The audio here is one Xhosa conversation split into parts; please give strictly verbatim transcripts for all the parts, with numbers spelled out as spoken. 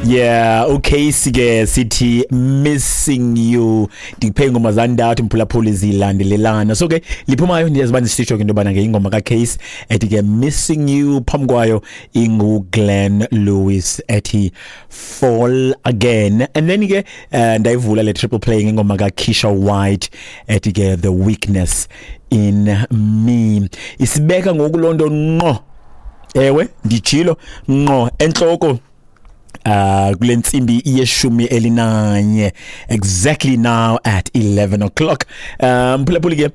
Yeah, okay, sike sithi "Missing You". Ndikuphe ingoma zandathu, mphulaphuli, zilandelelana. So ke liphumayo, ndiyaziba ndisitsho ke into yobana ke ingoma kaCase ethi ke "Missing You", phambi kwayo ingu Glenn Lewis ethi "Fall Again", and then ke uh, ndayivula le triple play ngengoma kaKeisha White ethi ke "The Weakness in Me". Isibeka ngoku loo nto ngqo, ewe, nditshilo ngqo entloko uh kule ntsimbi yeshumi elinanye, exactly now at eleven o'clock. um mphulaphuli ke,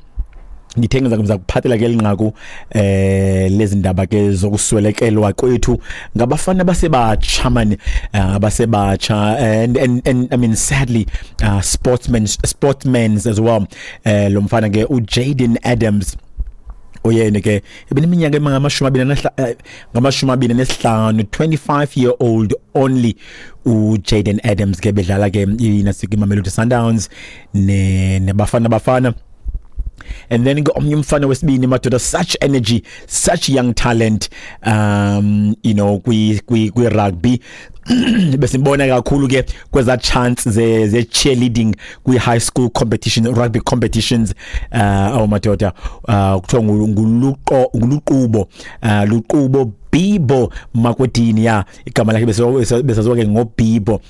ngithe ngiza kuza kuphathela ke linqaku eh lezi ndaba ke zokuswelekelwa kwethu ngabafana basebatsha man, abasebatsha, and and and I mean, sadly, uh, sportsmen sportsmen as well. eh lo mfana ke uJaden Adams, oyena ke ebeneminyaka engamashumi abini ngamashumi abini nesihlanu, twenty-five year old only uJaden Adams ke, bedlala ke inasika iMamelodi Sundowns ne nebafana Bafana. And then ke omnye umfana wesibini, madoda, such energy, such young talent, um you know kwi kwi kwi rugby, besimbona kakhulu ke kweza chants ze ze cheerleading kwi high school competition, rugby competitions. uh awu madoda, uh kuthiwa nguluqo nguluqubo uh Luqubo Bibo Makwedini, ya, igama lakhe besaziwa ke ngoBibo.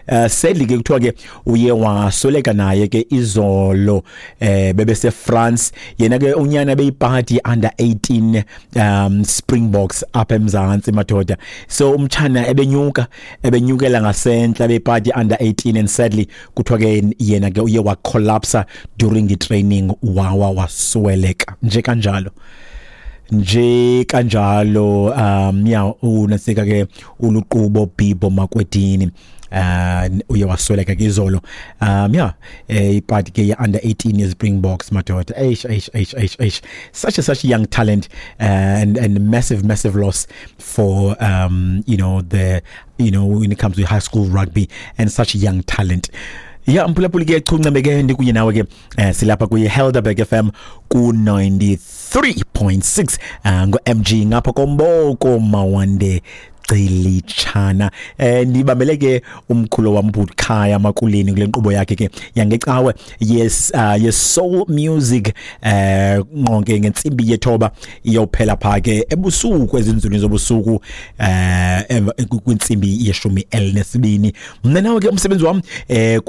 uh sadly ke kuthiwa ke uye wasweleka naye ke izolo, eh bebese France. Yena ke unyana beyipati under eighteen um Springboks apha eMzantsi, madoda. So umtshana ebenyuka ebenyukela ngasentla bepati under eighteen, and sadly kuthiwa ke yena ke uye wa collapse during the training, wawa wasweleka nje kanjalo nje kanjalo. um ya unasika ke uluqubo Bibo Makwedini, uh uye wasweleka ke izolo. um yeah eh ipati ke ye under eighteen ye Springboks, madoda. Eish, eish, eish, eish, eish, such a such a young talent, uh, and and massive, massive loss for um you know the you know when it comes to high school rugby and such a young talent. Ya, mphulaphuli ke, chuncembe ke ndikunye nawe ke, eh, silapha kuyi Helderberg F M ku ninety-three point six, uh, ngo M G ngapha komboko mawande Gcilitshana. eh ndibambele ke umkhulo wam Bukhaya Makuleni kule nkqubo yakhe ke yangecawe, yes, uh, yes, soul music, eh nqonke ngentsimbi yethoba iyophela pha ke ebusuku, ezinzulwini zobusuku, eh kwintsimbi yeshumi elinesibini. Mna nawe ke, umsebenzi wam eh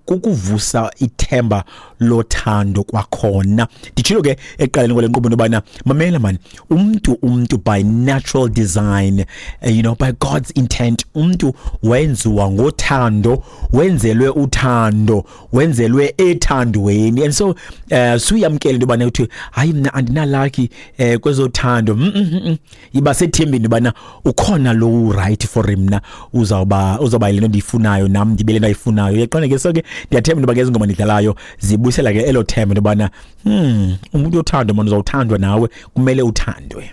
kukuvusa ithemba lothando kwakhona. Nditshilo ke ekuqaleni kwale nkqubo intobana mamela man, umntu umntu by natural design, uh, you know by God's intent, umntu wenziwa ngothando, wenzelwe uthando, wenzelwe ethandweni. And so uh, suyamkele into yobana uthi, "Hayi, mna andinalaki eh kwezothando." mm, mm, mm. Iba sethembeni ubana ukhona lo right for mna, uzawuba uzawuba le nto ndiyifunayo, nam ndibe le nto ayifunayo. Uyaqonda ke? So ke ndiyathemba into yoba ke ezi ngoma ndidlalayo zibuyisela ke elo themba into yobana hmm umuntu othando mani uzawuthandwa nawe, kumele uthandwe.